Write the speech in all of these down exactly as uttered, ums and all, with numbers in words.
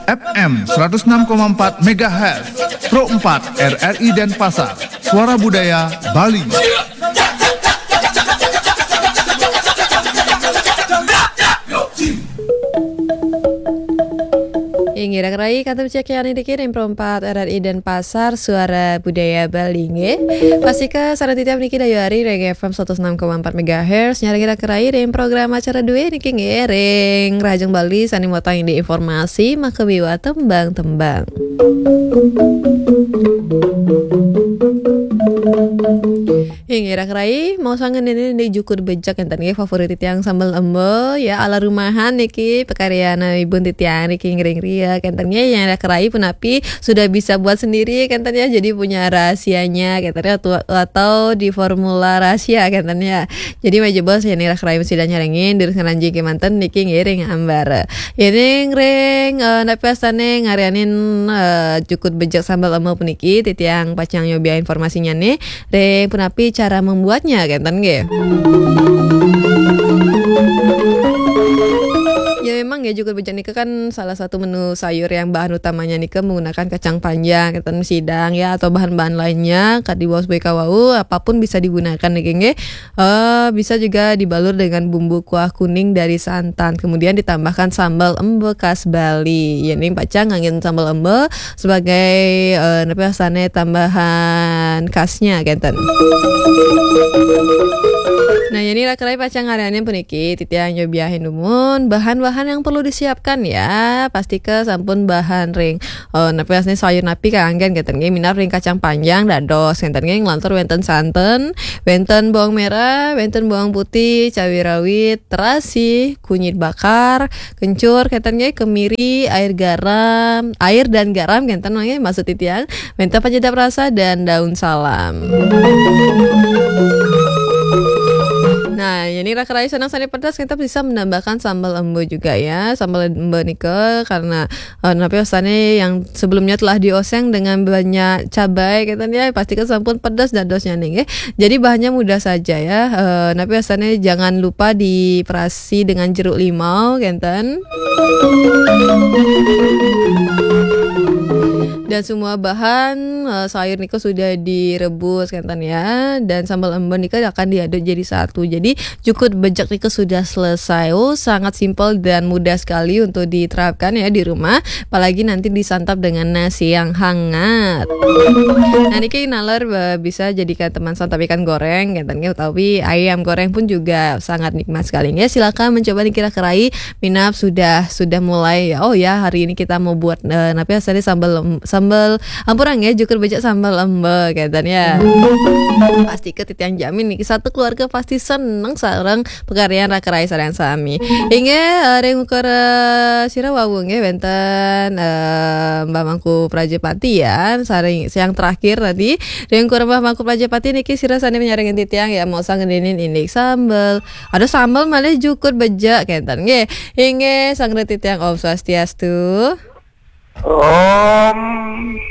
F M seratus enam koma empat megahertz, Pro empat R R I Denpasar, Suara Budaya Bali. Inggih, Rak Rai, kantun cekyan niki ring Pro empat R R I Denpasar, Suara Budaya Bali, nggih. Pastika sareng titiang niki dayu ari ring F M seratus enam koma empat megahertz, nyarengin Rak Rai ring program acara dué niki, nggih, ring Rahajeng Bali sané mawatang indik informasi, maka miwah tembang-tembang. Inggih, Rak Rai, maosang ngenénin indik Jukud Bejek kénten nggih, favorit titiang sambel emba, ya, ala rumahan niki, pakaryanipun titiang niki ngiring ria kénten nggih, yang Rak Rai punapi sudah bisa buat sendiri kénten ya, jadi punya rahasianya kénten ya, atau, atau di formula rahasia kénten ya. Jadi majeng bos, yén Rak Rai sida nyarengin, durus ngranjing kémanten niki ngiring ambar. Yén ring, eh, napi wastané ngaryanin, eh, Jukud Bejek sambel emba puniki, titiang pacang nyobiahang informasinya nih. Ring punapi cara membuatnya, kénten nggih. Ya, memang ya, Jukud Bejek nika kan salah satu menu sayur yang bahan utamanya nika menggunakan kacang panjang, kénten, sidang ya, atau bahan-bahan lainnya, kadi wau sebagai kawau, apapun bisa digunakan niki nggih. Eh, bisa juga dibalur dengan bumbu kuah kuning dari santan, kemudian ditambahkan sambal embe khas Bali. Ya, ning pacang nganggén sambal embe sebagai, eh, napi wastané tambahan khasnya, kénten. Nah, yén Rak Rai pacang ngaryanin puniki, titiang nyobiahang dumun bahan-bahan yang perlu disiapkan ya. Pastika sampun bahan ring, eh, napi wastané sayur napi kanggén kénten nggih, minab ring kacang panjang dados kénten nggih, nglantur wénten santen, wénten bawang merah, wénten bawang putih, cabai rawit, terasi, kunyit bakar, kencur, kénten nggih, kemiri, air garam, air dan garam, kénten nggih, maksud titiang, minta penyedap rasa dan daun salam. Nah, yén Rak Rai senang sané pedas, kita bisa menambahkan sambal embe juga ya. Sambal embe nika karena, eh, napi wastané yang sebelumnya telah dioseng dengan banyak cabai, kénten ya, pastika sampun pedas dadosnya nih, nggih. Jadi bahannya mudah saja ya. Eh, napi wastané jangan lupa diperasi dengan jeruk limau, kénten. Dan semua bahan, eh, sayur nika sudah direbus, kénten ya. Dan sambal embe nika akan diaduk jadi satu. Jadi Jukud Bejek nika sudah selesai. Oh, sangat simpel dan mudah sekali untuk diterapkan ya di rumah. Apalagi nanti disantap dengan nasi yang hangat. Nah, niki naler, eh, bisa jadikan teman santap ikan goreng, kénten nggih, utawi ayam goreng pun juga sangat nikmat sekali. Ya, silakan mencoba niki Rak Rai, minab sudah, sudah mulai ya. Oh ya, hari ini kita mau buat, eh, napi wastané sambal em-, sambal ampurang ya, Jukud Bejek sambal embe, kénten ya. Pastika titiang jamin nih, satu keluarga pasti seneng sareng pakaryan Rak Rai sareng sami. Inggih, eh, ring ukara sira wau nggih wénten, eh, Mbah Mangku Prajapati ya, sareng yang terakhir tadi. Ring ukara Mbah Mangku Prajapati niki sira sané nyarengin titiang ya, maosang ngenénin indik sambel. Ada sambel malih Jukud Bejek kénten nggih. Inggih, sareng titiang Om Swastiastu. Om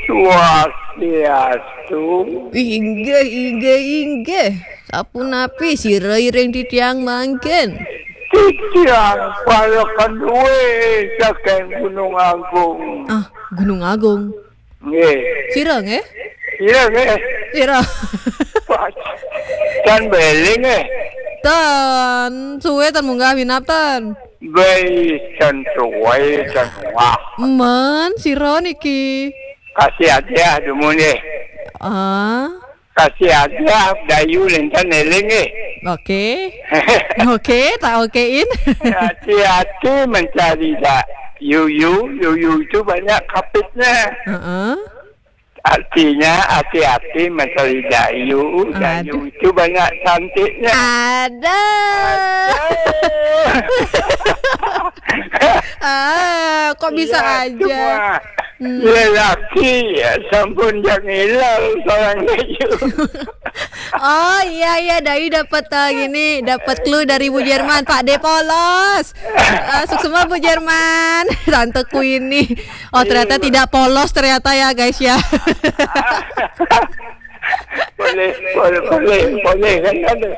Swastiastu. Inggih, inggih, inggih. Sapunapi sira ring titiang mangkin? Titiang Palekendue saking Gunung Agung. Ah, Gunung Agung. Nggih. Sira nggih? Sira nggih. Sira. Tan beling nggih. Tan suwe tan munggah minab tan. Baik, tan suwe tan munggah. Men, sira niki? Kasih aja dumun nggih. Ah. Kasih aja dayu lintan eling nggih. Oke. Oke, tak okein. Hati-hati mencari dak yuyu, yuyu itu banyak kapitnya. Heeh. Artinya hati-hati mencari dayu, dayu itu banyak cantiknya. Ada. Ah, kok bisa aja? Lelaki ya, sampun jangan hilang seorang dayu. Oh iya, iya, Dayu dapat, eh, gini, dapat clue dari Bu Jerman, Pak D polos. Eh, suksma Bu Jerman, tanteku ini. Oh, ternyata tidak polos ternyata ya, guys ya. Boleh, boleh, boleh, boleh, kan ada.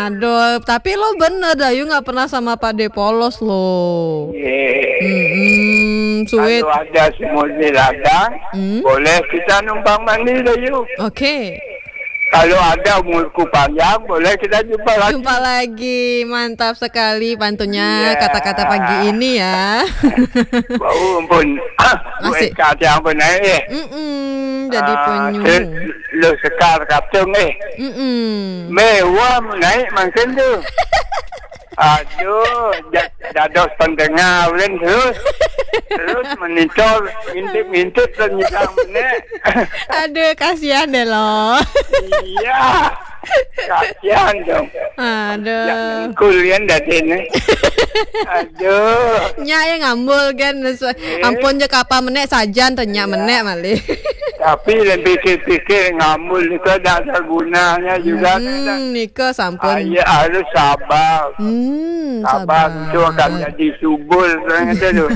Aduh, tapi lo bener, Dayu nggak pernah sama Pak D polos lo. Iya. Mm-mm. Sweet. Kalau ada semut di ladang, hmm, boleh kita numpang mandi, Dayu. Oke. Kalau ada umurku panjang, boleh kita jumpa lagi. Jumpa lagi. Mantap sekali pantunnya, iya, kata-kata pagi ini ya. Bau ampun. Asik. Buat kacang pun naik eh. Mm-mm, jadi ah, penyu. Terus lo sekar kaptung eh. Mm-mm. Mewah naik makin tu. Aduh, ja-, dados pendengar ulun terus. Terus monitor, ngintip-ngintip dan nyidang benek. Aduh, kasihan deh lo. Iya. Kasihan dong. Aduh. Yang kulian dadi ni. Aduh. Nya ya ngambul kan. Eh. Ampun je kapa menek sajan tanya, iya, menek malih. Tapi lebih pikir-pikir ngambul ni kan ada gunanya juga. Hmm, kan. Nika sampun. Ah, iya, harus sabar. Hmm, sabar, sabar. Itu akan jadi subur, kan, kata tu.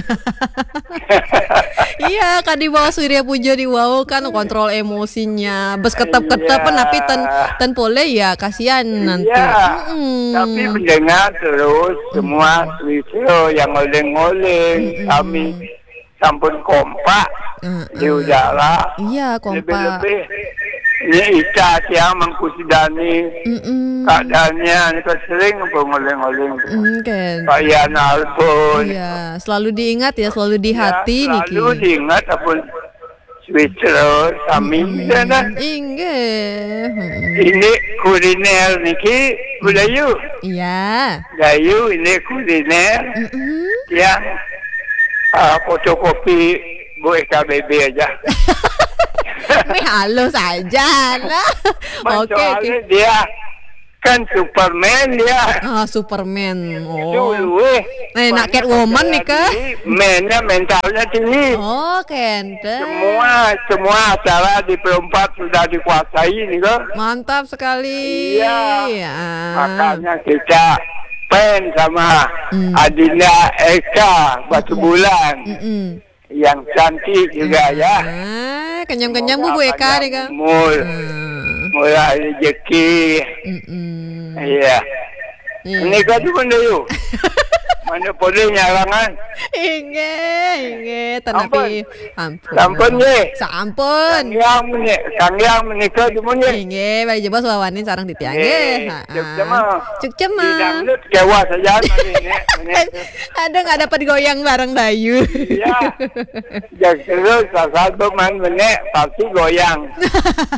Iya, kan di bawah Surya Puja di bawah kan kontrol emosinya. Bes ketep-ketep, iya, tapi ten, ten boleh ya, kasihan nanti. Iya. Mm-mm. Tapi mendengar terus semua, mm-mm, Swisro yang oleng-oleng, mm-mm, kami sampun kompak, mm-mm, di udara. Iya, kompak. Lebih-lebih ini Ica tiang mangkusudani, mm-mm, keadaannya ini kan sering pun ngoling-ngoling. Mm, kan. Pak Yan Albon. Iya, selalu diingat ya, selalu di hati, ya, selalu niki diingat apun Swisro sami, mm-mm, sana. Inggih. Mm-mm. Ini kuliner niki, Bu Dayu. Iya. Dayu ini kuliner, mm-mm, yang ah, fotokopi Bu E K B B aja. Wih, halus aja, nah. Oke, soalnya oke, dia kan Superman dia. Ah, Superman. Oh. Dulu eh. Eh, nak Catwoman nih, Kak. Mainnya mentalnya tinggi. Oh, kente. Semua, semua acara di Perumpat sudah dikuasai nih, kok. Mantap sekali. Iya. Ya. Makanya kita fan sama, mm, Adinda Eka Batubulan. Mm-mm. Yang cantik juga, ya. Ah, kenyang-kenyang Bu, Bu Eka panjang nih, Kak. Umur. Hmm. Murah rezeki. Mm-mm. Iya. Iya. Ini kan cuma dulu. Mana boleh nyarangan? Inggih, inggih, tetapi ampun. Sampun, nggih. Sampun. Kang Yang meni-, Kang Yang menikah di mun, nggih. Inggih, bari jebos wawanin sareng titiang, nggih. Nggih, ha, cuk cemeng. Cuk cemeng. Di dangdut kewas aja mari, nggih, nggih. Aduh, nggak dapat goyang bareng Dayu. Iya. Yang terus saat pemain menek pasti goyang.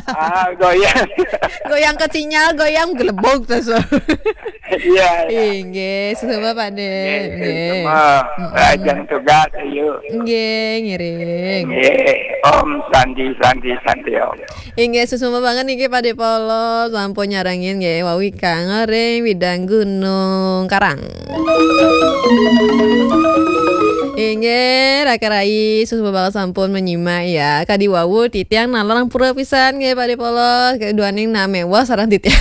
Ah, goyang. Goyang ke sinyal, goyang gelebok terus. Iya, iya. Inggih, susuba Pak De. Nggih, nggih. Susuba. Mm-mm. Lajeng tugas, ayo. Nggih, ngiring. Nggih, Om Santi, Santi, Santi, Om. Inggih, susuba banget niki Pak De Polo, sampun nyarengin nggih, wau Kang Oreng, Widang Gunung Karang. Inggih, Raka Rai, susuba banget sampun menyimak ya. Kadi wau titiang nalar pura pisan nggih, Pak De Polo. Keduaning na mewah sareng titiang.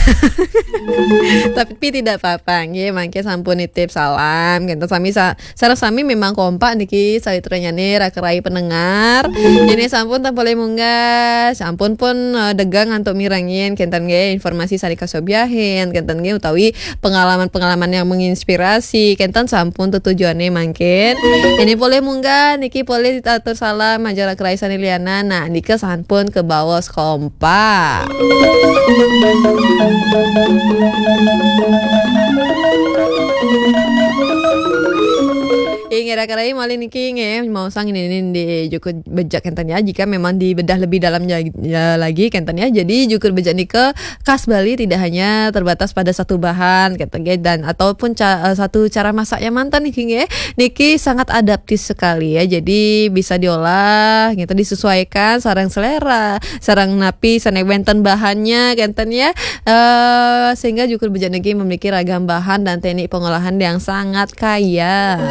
Tapi tidak apa-apa, nggih, mangke sampun nitip salam. Kenten sami sa-, sareng sami memang kompak niki sawitranyane Raka Rai pendengar. Ini sampun tak boleh munggah, sampun pun, eh, degang antuk mirengin, kenten nggih, informasi sane kasobiahin, kenten nggih, utawi pengalaman-pengalaman yang menginspirasi, kenten sampun tetujuane mangkin. Ini boleh munggah, niki boleh atur salam, aja Raka Rai sane lianan. Nah, nika sampun kebaos kompak. Inggih, Raka Rai malih niki nggih, mau sang ini, ini di Jukut Bejak kenten ya. Jika memang dibedah lebih dalamnya, ya, lagi kenten ya. Jadi Jukut Bejak nika khas Bali tidak hanya terbatas pada satu bahan kenten nggih, dan ataupun ca-, eh, satu cara masak yang mantan niki nggih. Niki sangat adaptif sekali ya. Jadi bisa diolah gitu, disesuaikan sareng selera, sareng napi sane wenten bahannya kenten ya. Eh, sehingga Jukut Bejak niki memiliki ragam bahan dan teknik pengolahan yang sangat kaya.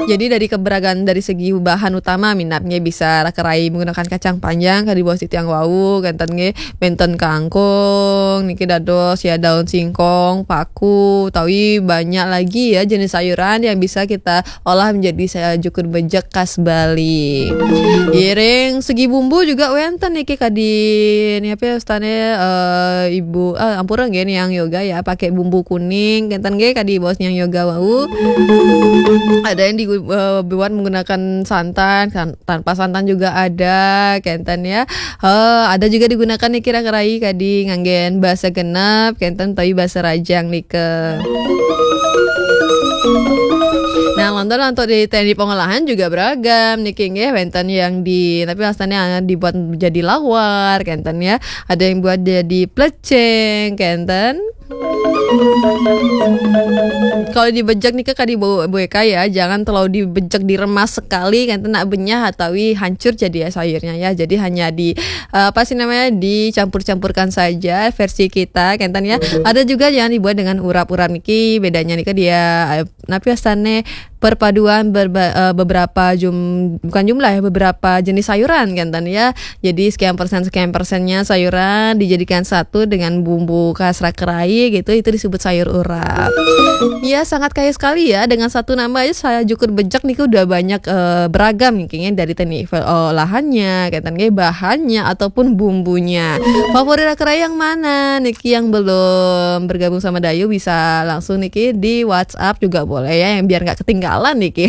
Jadi dari keberagaman dari segi bahan utama minapnya bisa Raka Rai menggunakan kacang panjang kadi bos titiang wau, kenten nggih, benten kangkung, niki dados ya daun singkong, paku, utawi banyak lagi ya jenis sayuran yang bisa kita olah menjadi sa-, Jukut Bejak khas Bali. Ngiring segi bumbu juga wenten niki kadi ni apa ya, ustane, eh, Ibu, eh, ampura nggih, Niang Yoga ya, pakai bumbu kuning, kenten nggih kadi bos Niang Yoga wau. Ada yang dibuat menggunakan santan, tanpa santan juga ada, kenten ya. Ada juga digunakan niki raka rai kadi nganggen basa genep, kenten utawi basa rajang nika. Nah, lantur-lantur di teknik pengolahan juga beragam niki nggih, wenten yang di, tapi asalnya dibuat jadi lawar, kenten ya. Ada yang buat jadi plecing, kenten. Kalau dibejek nika kadi bu-, bueka ya, jangan terlalu dibejek, diremas sekali, kenten, nak benyah atawi hancur jadi sayurnya ya. Jadi hanya di, eh, apa sih namanya, dicampur-campurkan saja versi kita, kenten ya. Ada juga yang dibuat dengan urap-urap niki, bedanya nika dia, eh, napi astane perpaduan berba-, eh, beberapa jum-, bukan jumlah ya, beberapa jenis sayuran, kenten ya. Jadi sekian persen, sekian persennya sayuran dijadikan satu dengan bumbu khas raka rai gitu, itu disebut sayur urap. Ya, sangat kaya sekali ya, dengan satu nama aja saya jukur bejek niki udah banyak, eh, beragam niki ya, dari teknik olahannya, kenten nggih, bahannya ataupun bumbunya. Favorit raka rai yang mana niki, yang belum bergabung sama Dayu bisa langsung niki di WhatsApp juga boleh ya, yang biar nggak ketinggalan niki.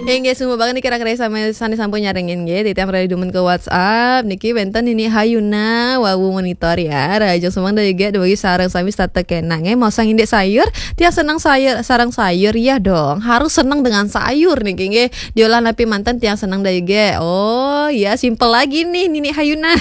Inggih, suksma banget niki raka rai sami sane sampun nyarengin nggih, titiang raka rai dumun ke WhatsApp niki, wenten Nini Hayuna, wau monitor ya. Rahajeng semeng Dayu nggih, dugi sareng sami setata kenak nggih. Mosang indik sayur, tiang seneng sayur, sareng sayur ya dong. Harus seneng dengan sayur niki nggih. Diolah napi manten tiang seneng Dayu nggih. Oh ya, simple lagi nih Nini Hayuna.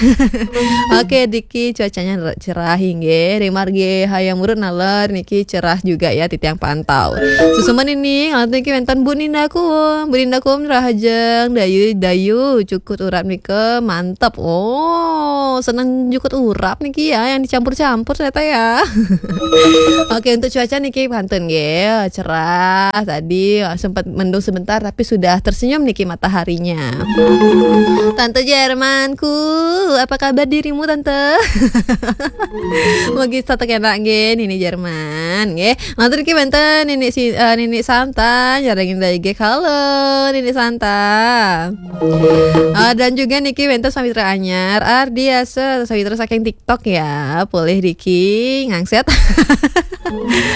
Oke, niki cuacanya re-, cerah inggih. Ring margi Hayam Wuruk naler niki cerah juga ya, titiang pantau. Suksma niki, niki wenten Bu Ninda Kum. Bu Ninda Kum, rahajeng Dayu, Dayu jukur urap nika mantep. Oh, seneng jukur urap niki ya, yang dicampur-campur ternyata ya. Oke, untuk cuaca niki pantun nggih, cerah tadi, sempat mendung sebentar tapi sudah tersenyum niki mataharinya. Tante Jermanku, apa kabar dirimu, Tante? Mugi setata kenak nggih, Nini Jerman nggih. Lantur niki wenten Nini si-, eh, Nini Santa, nyarengin Dayu nggih. Halo, Nini Santa. Ah, dan juga niki wenten sawitra anyar, Ardiasa, sawitra saking TikTok ya. Polih niki ngangset.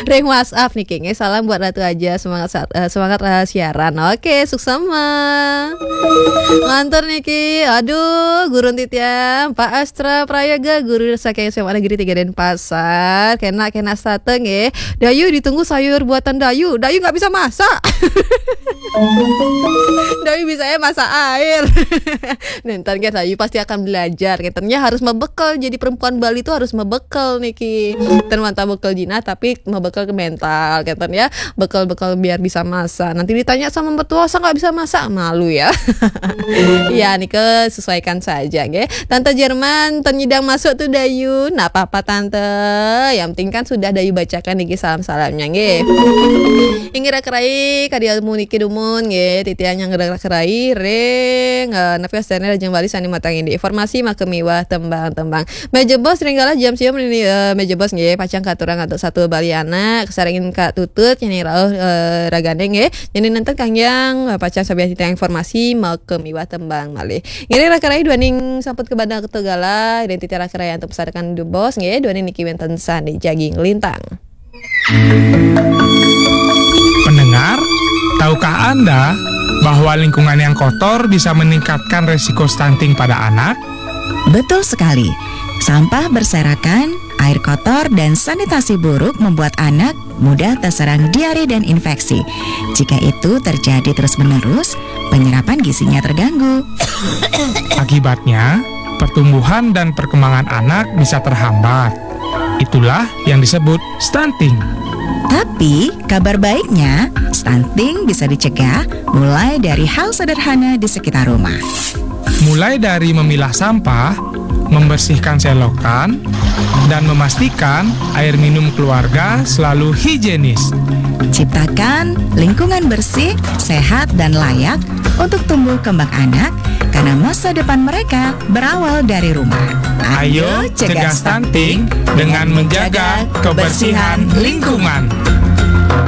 Ring WhatsApp niki nggih, salam buat Ratu aja, semangat saat, eh, semangat, eh, siaran. Oke, suksma. Lantur niki, aduh, gurun titiang, Pak Astra Prayoga, guru saking S M A Negeri tiga Denpasar. Kenak, kenak setata nggih. Dayu, ditunggu sayur buatan Dayu. Dayu nggak bisa masak. Dayu bisa ya masak air. Nenten kan Dayu pasti akan belajar. Katanya harus mebekel. Jadi perempuan Bali itu harus mebekel niki. Ten mantap bekel jinah tapi mebekel ke mental. Keten ya. Bekel-bekel biar bisa masak. Nanti ditanya sama mertua, "Saya nggak bisa masak." Malu ya. Ya, niki sesuaikan saja nggih. Tante Jerman, ten nyidang masuk tuh Dayu. Nggak apa-apa Tante. Yang penting kan sudah Dayu bacakan niki salam-salamnya nggih. Inggih raka rai, kadi ilmu niki dumun nggih, titiang nyarengin raka rai ring, eh, napi astane Rahajeng Bali sane matanggin di informasi maka miwah tembang-tembang. Meja Bos ring galah jam siam niki, eh, Meja Bos nggih, pacang katurang antuk satu Bali anak, kasarengin Kak Tutut, nyanyi rauh, eh, ragane nggih. Nyanyi nenten kanggiang, eh, pacang sabian titiang informasi maka miwah tembang malih. Ngiring raka rai duaning sampun kabanda keto galah, ring titiang raka rai antuk pesarekan Bos nggih, duaning niki wenten sane jagi nglintang. Pendengar, tahukah Anda bahwa lingkungan yang kotor bisa meningkatkan resiko stunting pada anak? Betul sekali. Sampah berserakan, air kotor, dan sanitasi buruk membuat anak mudah terserang diare dan infeksi. Jika itu terjadi terus-menerus, penyerapan gizinya terganggu. Akibatnya, pertumbuhan dan perkembangan anak bisa terhambat. Itulah yang disebut stunting. Tapi, kabar baiknya, stunting bisa dicegah mulai dari hal sederhana di sekitar rumah. Mulai dari memilah sampah, membersihkan selokan, dan memastikan air minum keluarga selalu higienis. Ciptakan lingkungan bersih, sehat, dan layak untuk tumbuh kembang anak, karena masa depan mereka berawal dari rumah. Ayo cegah stunting dengan menjaga kebersihan lingkungan.